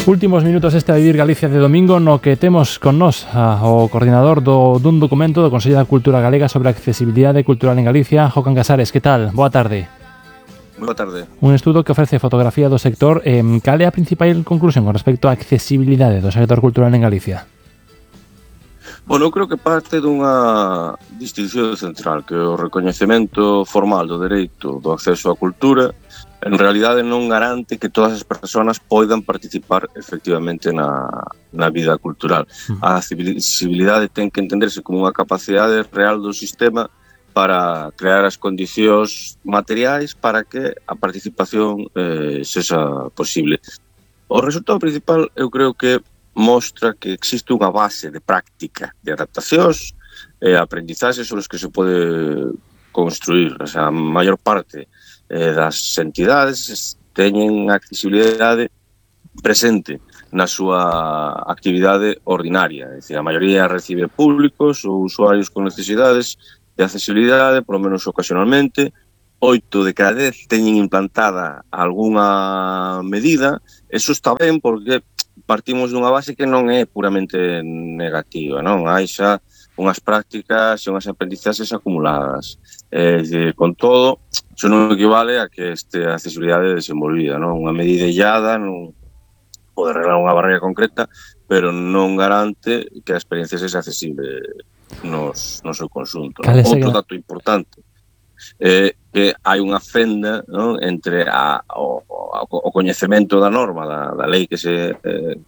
Últimos minutos este a Vivir Galicia de domingo, no que temos con nós o coordinador dun documento do Consello da Cultura Galega sobre a accesibilidade cultural en Galicia, Jocan Casares. Que tal? Boa tarde. Boa tarde. Un estudo que ofrece fotografía do sector. Cal é a principal conclusión con respecto á accesibilidade do sector cultural en Galicia? Bueno, eu creo que parte dunha distinción central, que o recoñecemento formal do dereito do acceso á cultura en realidade non garante que todas as persoas poidan participar efectivamente na vida cultural. A accesibilidade ten que entenderse como unha capacidade real do sistema para crear as condicións materiais para que a participación sexa posible. O resultado principal, eu creo que mostra que existe unha base de práctica, de adaptacións e aprendizaxes sobre os que se pode construir. O sea, a maior parte das entidades teñen a accesibilidade presente na súa actividade ordinaria. É dicir, a maioría recibe públicos ou usuarios con necesidades de accesibilidade, polo menos ocasionalmente. 8 de cada 10 teñen implantada algunha medida. Eso está ben porque partimos dunha base que non é puramente negativa, non? Hai xa unhas prácticas e unhas aprendizaxes acumuladas. Con todo, iso non equivale a que este accesibilidade desenvolvida, non? Unha medida illada non pode arreglar unha barreira concreta, pero non garante que a experiencia sexa accesible no seu conxunto. Outro dato importante é que hai unha fenda, non, entre o coñecemento da norma da lei que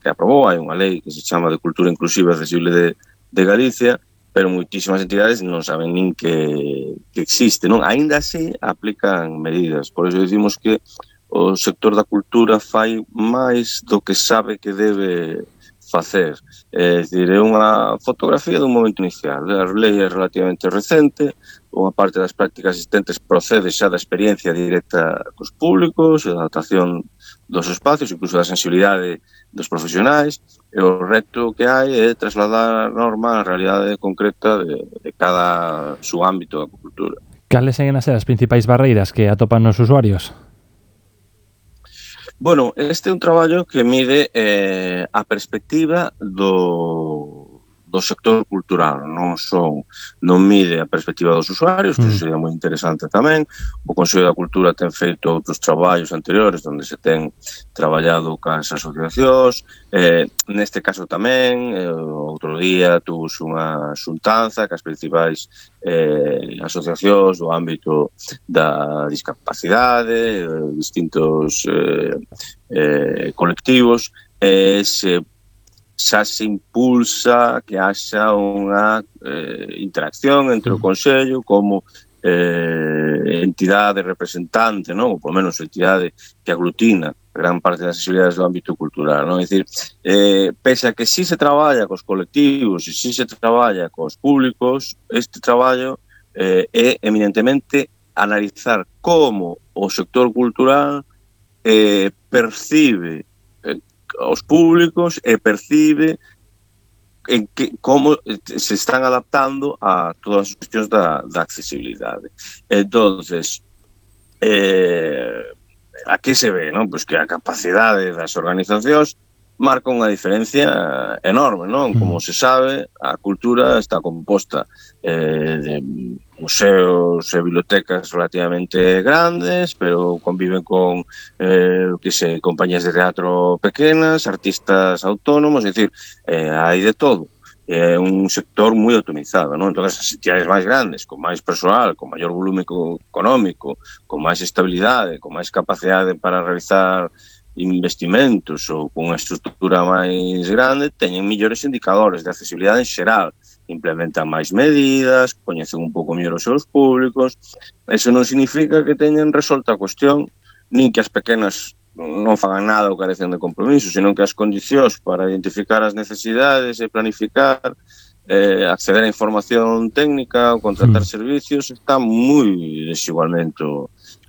aprobou. Hai unha lei que se chama de Cultura Inclusiva e Accesible de Galicia, pero moitísimas entidades non saben nin que existe, non? Aínda así aplican medidas. Por iso dicimos que o sector da cultura fai máis do que sabe que debe facer. É dicir, é unha fotografía dun momento inicial. A lei é relativamente recente, unha parte das prácticas existentes procede xa da experiencia directa cos públicos, da adaptación dos espacios, incluso da sensibilidade dos profesionais, e o reto que hai é trasladar a norma á realidade concreta de cada subámbito da cultura. Cales seguen a ser as principais barreiras que atopan os usuarios? Bueno, este é un traballo que mide a perspectiva do sector cultural, non mide a perspectiva dos usuarios, que iso sería moi interesante tamén. O Consello da Cultura ten feito outros traballos anteriores onde se ten traballado cas asociacións, neste caso tamén, outro día tuvos unha xuntanza cas principais asociacións do ámbito da discapacidade, distintos colectivos, xa se impulsa que haxa unha interacción entre o Consello como entidade representante, non? Ou polo menos entidade que aglutina gran parte das accesibilidades do ámbito cultural, non? É dicir, pese a que si se traballa cos colectivos e si se traballa cos públicos, este traballo é eminentemente analizar como o sector cultural percibe aos públicos e percibe como se están adaptando a todas as cuestións da accesibilidade. Entonces, aquí se ve, non? Pois que a capacidade das organizacións marca unha diferencia enorme, non? Como se sabe, a cultura está composta de museos e bibliotecas relativamente grandes, pero conviven con compañías de teatro pequenas, artistas autónomos, é dicir, hai de todo. É un sector moi atomizado, non? Entón, as entidades máis grandes, con máis persoal, con maior volume económico, con máis estabilidade, con máis capacidade para realizar investimentos ou con unha estrutura máis grande, teñen millores indicadores de accesibilidade en xeral, implementan máis medidas, coñecen un pouco mellor os seus públicos. Eso non significa que teñen resolta a cuestión, nin que as pequenas non fagan nada ou carecen de compromiso, senón que as condicións para identificar as necesidades e planificar, acceder a información técnica ou contratar servicios está moi desigualmente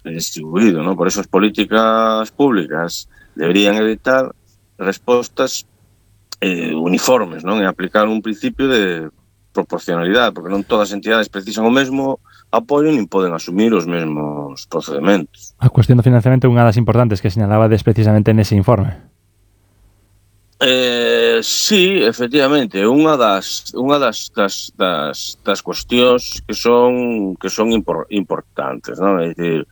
distribuído, non? Por eso as políticas públicas deberían evitar respostas uniformes, non? E aplicar un principio de proporcionalidade, porque non todas as entidades precisan o mesmo apoio nin poden asumir os mesmos procedementos. A cuestión do financiamento é unha das importantes que señalabades precisamente nese informe. Sí, efectivamente, unha das cuestións que son importantes, non? É dicir,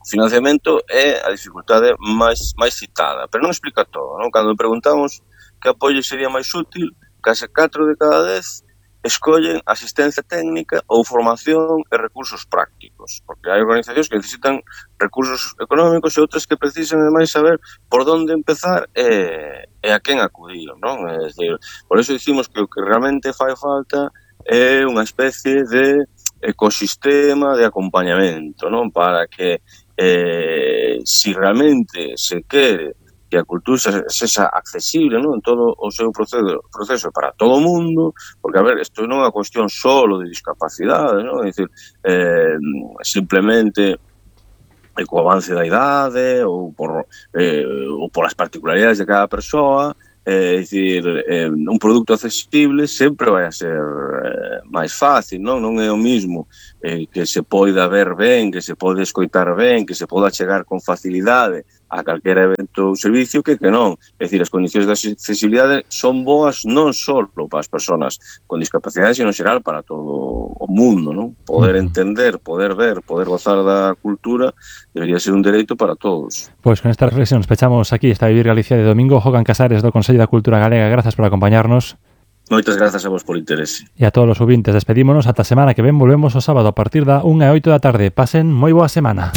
o financiamento é a dificultade máis citada, pero non explica todo, non? Cando preguntamos que apoio sería máis útil, case 4 de cada 10 escollen asistencia técnica ou formación e recursos prácticos, porque hai organizacións que necesitan recursos económicos e outras que precisan ademais saber por onde empezar e a quen acudir, non? É dicir, por iso dicimos que o que realmente fai falta é unha especie de ecosistema de acompañamento, non? Para que si realmente se quere que a cultura sexa accesible, non? En todo o seu proceso para todo o mundo, porque, a ver, isto non é unha cuestión solo de discapacidade, non? É dicir, simplemente co avance da idade ou polas particularidades de cada persoa, é dicir, un produto accesible sempre vai a ser máis fácil, non é o mismo que se poida ver ben, que se pode escoitar ben, que se poda chegar con facilidade a calquera evento ou servicio que non. É dicir, as condicións de accesibilidade son boas non só para as persoas con discapacidade, sino en xeral para todo o mundo, non? Poder entender, poder ver, poder gozar da cultura debería ser un dereito para todos. Pois con esta reflexión pechamos aquí esta Vivir Galicia de domingo. Jocan Casares do Consello da Cultura Galega, grazas por acompañarnos. Moitas grazas a vos por interese. E a todos os ouvintes, despedímonos ata a semana que ven. Volvemos o sábado a partir da 1:08 da tarde. Pasen moi boa semana.